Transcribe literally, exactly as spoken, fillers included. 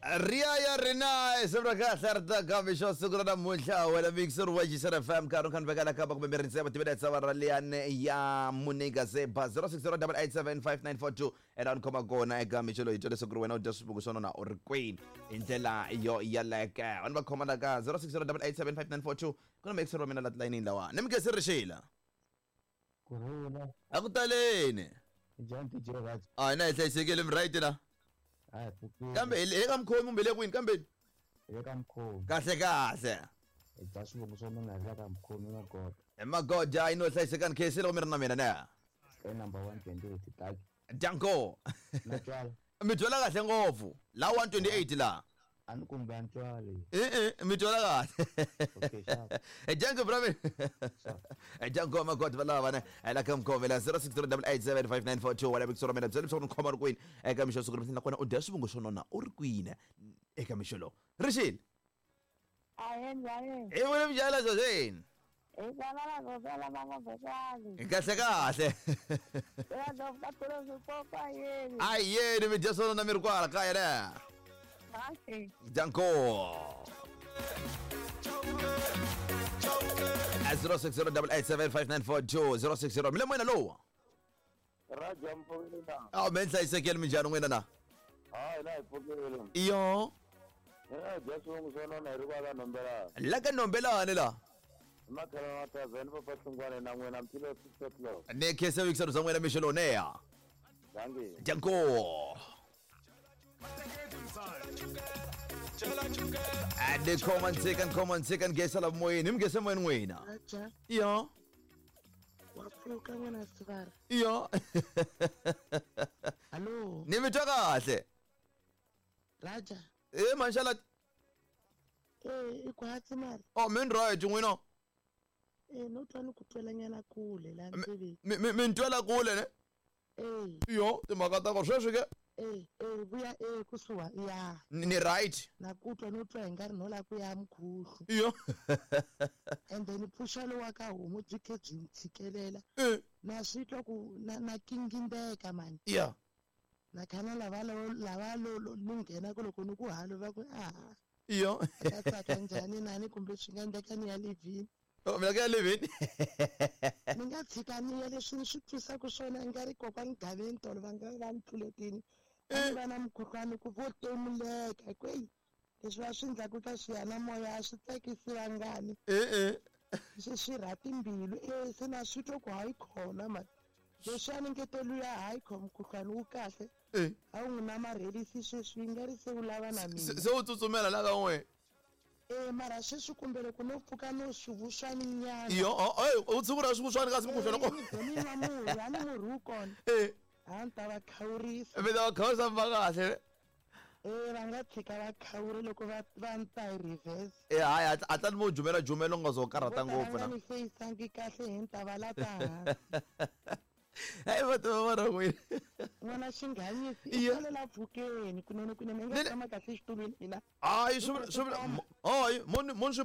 Riaya rina sebra kahle ri ta kambe xo siku ra namuntlha wena mixer wa G F M nkarhi khan vekela kamba kumbe mi rindzela timinetse va ra liyani ya Munika Zeba zero six zero eight eight seven five nine four two ela ni khoma kona eka mixo loyi twa leswaku ri wena u dya swibuku swa nona u ri kwini hi ndlela yo yaleke vanhu va khoma la ka zero six zero eight eight seven five nine four two ku na mixer wa mina la tilayinini lawa ni mi se rixila kurhula a ku taleni njhani D J Raj a na hi hlayisekile mi right na a pfukile kambe hi ka mukhomi kumbe le kwini kambe hi ka mukhomi kahle kahle hi dya swivongo swa mina hi la ka mukhomi magoda hi magoda yi no hlayisekani khesi loko mi ri na mina na e number one twenty-eight taki danko na twala mi twala kahle ngopfu la one twenty-eight la a ni kumbe a ni twali e e mi twala kahle okay sharp e danko brave e danko magoda va lava ne la ka mukhomi la zero six zero eight eight seven five nine four two wala bikisora mina byela leswaku ni khoma ri kwini eka mixo siku ri nakona u dya swivongo swo nona u ri kwini eka mixo lowu rixile Ayen ayen. E vule mjala zozeni. E bana la gozela mama botani. Kahle kahle. Ya do patro su popa yeni. Ai yeni mi dya swona na mi ri kwala kaya ne. Kahle. Danko. zero six zero eight eight seven five nine four two zero six zero mi le moyeni lowu. Raja mpfukile na. Aw me hlayisekile minjhani n'wina na? Hayi na hi pfukile. Iyo. Eh dya swivongo swa nona hi ri kwala Nombelani. La ka Nombelani la. Makhelwana wa Tazani papa Hlungwane na n'wina mphilo six o'clock. Ne khese wikisero za n'wina mixo lowu neya. Dankie. Danko. Ade come and take and come and take and gesa la moyeni mgese moyeni n'wina. Raja. Iyo. Wa pfuka n'wana sivara. Iyo. Hallo. Ni mi twa kahle. Raja. Eh manshala. Eh i kwatsi mara. Oh min right n'wina. Eh no twa ni ku twelanyana kule la ndleveni. Mi mi mi twela kule ne? Eh. Iyo timhaka ta ko sweswi ke. Eh eh vuya eh kusuha ya. Ni right. Na ku twa no twa hi nga ri no la ku ya mkhuhlu. Iyo. And then pfuxelo wa ka homu byi khe byi tshikelela. Eh. Na swi twa ku na na kingindeka mani. Yeah. Na khana lava lo lava lo ni nghena ku loko ni ku halo va ku a. Iyo. Ka tsaka njhani nani kumbe swi nga endleka ni ya livini. Oh mina ka livini. Ni nga tshika ni ya leswi ni swi twisaka swona nga ri kokwani Gaveni tolo va nga va ni tluletini. A va na mukhuhlwani ku vo temuleka kwei leswi va swi endlaku ka xiyanimoya a swi tsakisi vangani. Eh eh. Swi swi rha timbilu eh se na swi twa ku hayi khona mani. Leswi a ni nge luya hayi kho mukhuhlwani wu kahle. Eh. A wu n'wi namarhelisi sweswi yi nga ri se wu lava na mina. Se u tsutsumela la ka n'we. Eh mara sweswi kumbe loko no pfuka no swivuswani nyana. Iyo oh u tshungula swivuswani kasi mukhuhlwani ko. Ni nwa murhi a ni murhi wu kona. Eh. A ni ta va khawurisa. Mi ta va khawurisa va kahle. Eh va nga tshika va khawuri loko va va ni ta hi reverse. Eh hayi a tani mo jumela jumela u nga zo karhata ngopfu na. Na. Ni feyisangi kahle hi ni ta va lata hansi. Hey va va ra n'wina. N'wana xinghanyisi i la pfukeni kunene kunene i nga tshama kahle exitulwini mina. Hayi swi swi hayi mo mo